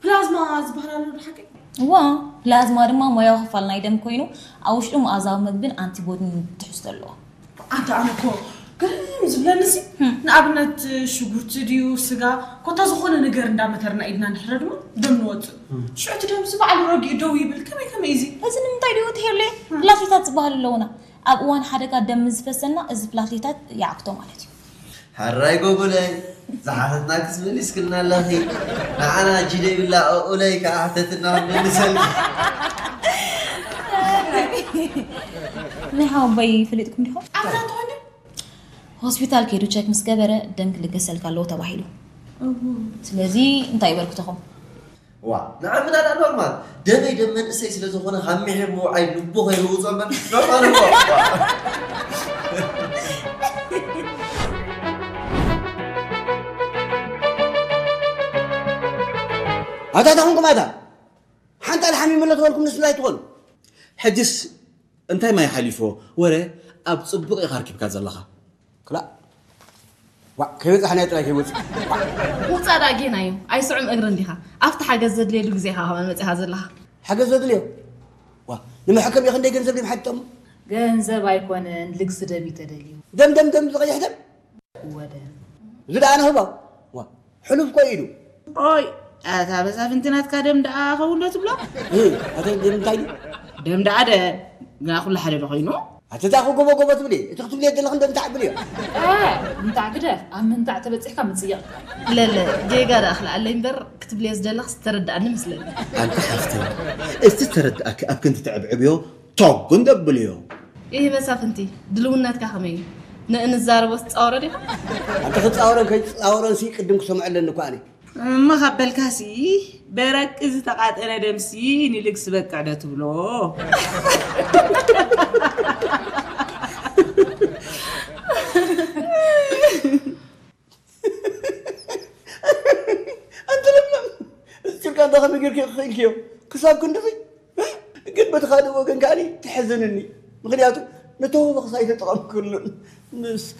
ፕላዝማ ዝበሃል ኣሎ ብሓቂ? እዋ፣ ፕላዝማ ድማ ሞያዊ ክፋል ናይ ደም ኮይኑ፣ ኣብ ውሽጡ መኣዛዊ ምግብን ኣንቲቦዲን ትሕዝቶ ኣለዎ። ኣንታ ኣነ እኮ ግርም ዝብለኒ ሲ፣ ንኣብነት ሽጉርቲ ድዩ ስጋ፣ ኮታ ዝኾነ ነገር እንዳመተርና ኢድና እንድሕረ ድማ ደም ንወፅእ። ሽዑ እቲ ደም ሲ ባዕሉ ረጊኡ ደው ይብል። ከመይ ከመይ እዚ? እዚ ንምንታይ ድዩ ትሄሉ? ፕላትሌታት ዝበሃሉ ኣለውና። ኣብ እዋን ሓደጋ ደም ምስ ዝፈሰና እዚ ፕላትሌታት ይዓግቶ ማለት እዩ። ሕራይ ጎጉለይ፣ ዝሓተትናክስ መሊስክልና ኣለኺ። ንዓና እጂ ደይብላ ኦኡለይ ከዓ ሕተትና መልሰልኪ። ናይ ሓወቦይ ፈሊጥኩም ዲኹም? ኣብዛ እንተኾይኑ ሆስፒታል ከይዱ ቸክ ምስ ገበረ ደም ክልገሰልካ ኣለዎ ተባሂሉ። ስለዚ እንታይ ይበልኩ ተኹም? ዋ ንዓምና ዳ ኖርማል ደመይ ደም መንእሰይ ስለ ዝኾነ ካብ ምሒር ምውዓይ ልቡ ከይህውፆ እምበር ኖርማል እኮ። ኣታ ተኹንኩም ኣታ ሓንጣል ሓሚሙ ኣሎ ተበልኩም ንስላ ኣይትኾኑ። ሕጅስ እንታይ ማይ ሓሊፎ ወረ ኣብ ፅቡቕ ኢኻ ኣርኪብካ ዘለኻ። ክላእ ዋ ከይበፃሕናዮ ጥራይ ከይወፅእ። ውፃእ ደኣ ጌና እዩ ኣይስዑም እግሪ እንዲኻ ኣብቲ ሓገዝ ዘድልየሉ ግዜ ኢኻ ከማን መፂኻ ዘለኻ። ሓገዝ ዘድልዮ? ዋ ንመሐከም እዩ ክንደይ ገንዘብ ድም ሓቲቶም? ገንዘብ ኣይኮነን ልግሲ ደም እዩ ተደልዩ። ደም ደም ደም ዝቐይሕ ደም? ወደ እዚ ደኣ ንህቦ። ዋ ሕሉፍ ኮ ኢሉ። ኦይ ኣታ በዛ ፍንቲ ናትካ ደም ደኣ ኸውን ዶ ትብሎ? ኣተ ደም እንታይ ደም ደኣ ደ ግና ኩሉ ሓደ ዶ ኮይኑ? ኣተ እዛ ክጎቦ ጎቦ ትብሊ እቲ ክትብልዮ ዘለኽን ደም ተዓብል እዮ። ምንታዕ ግደፍ ኣብ ምንታዕ ተበፂሕካ ምፅየቕ። ለለ ጌጋ ደኣ ክልኣለይ እምበር ክትብልዮ ዝደለኽስ ዝተረድኣኒ መስለኒ። ኣንታ ሓፍተይ እቲ ዝተረድኣኪ ኣብ ክንዲ ተዕብዕብዮ ቶግ እንደብልዮ። ኢህ መሳፍንቲ ድልውነትካ ከመይ እዩ? ንእንዛረቦ ትፃወሮ ዲኻ? ኣንተ ክፃወረን ከይፃወረን ሲ ቅድም ክሰምዖ ኣለኒ እኮ ኣነ። እሞ ካብ በልካሲ በረቂ ዝተቓጠነ ደምሲ ንልግሲ በቅዕ ዶ ትብሎ? ኣንተ ለምለም እዚልካ እንዳ ከመይ ጌርኪ ክኽእልክዮ ክሳብ ክንድዚ ግን በቲ ካልእ ወገን ከዓኒ ትሕዝንኒ ምክንያቱ ነተወበኽስ ኣይተጠቐምክሉን ምስ